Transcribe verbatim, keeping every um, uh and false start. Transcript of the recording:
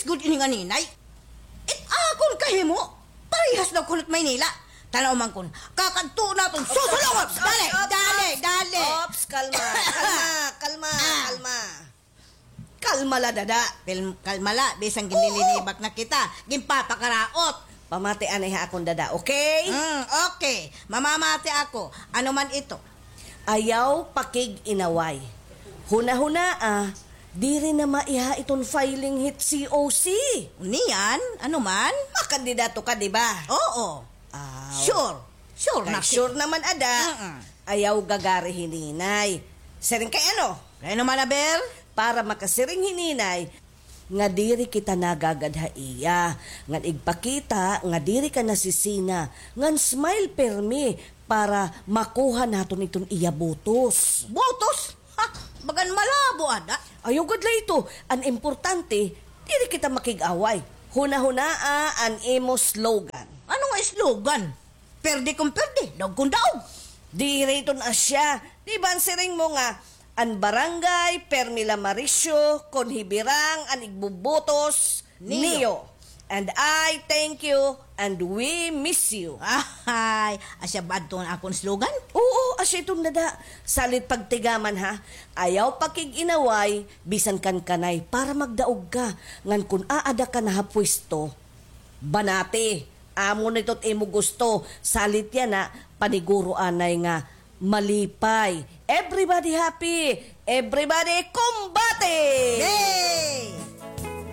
gud ini nga ninay. It akon kahimo, parehas daw kuno it Maynila. Tan-aw man kun, kakadto naton, susulungon! Dali, dali, dali! Ops, kalma, kalma, kalma, kalma. Kalma la, dada. Kalma la, bisan ginlilinibak na kita, ginpapakaraot. Pamati anay ha akon dada, okay? Mm, okay. Mamamati ako. Ano man ito? Ayaw pakig-inaway. Hunahunaa, diri na maiha iton filing hit C O C. Niyan, ano man? Makandidato ka, di ba? Oo. Aw. Sure. Sure na. Sure naman ada. Mm-mm. Ayaw gagari hi Ninay. Siring kay ano? Kay ano man, aber? Para makasiring hi Ninay nga diri kita nagagad ha iya, ngan igpakita nga diri ka nasisina, ngan smile pirmi para makuha naton iton iya botos. Botos? Ha, bagan malabo ada. Ayaw gad la ito. An importante, diri kita makig-away. Hunahunaa an imo slogan. Ano nga slogan? Perde kon perde, daog kon daog. Diri iton asya. Di ba an siring mo nga, an barangay, permi la marisyo, kon hibirang an igbubotos niyo. And I thank you and we miss you. Ay, asya ba adto an akon slogan? Oo, asya iton dada. Salit pagtigaman ha. Ayaw pakig-inaway, bisan kan kanay, para magdaog ka. Ngan kon aada ka na ha pwesto, banati. Amo na ito it imo gusto. Salit yana, paniguro anay nga malipay. Everybody happy! Everybody kumbati! Yay!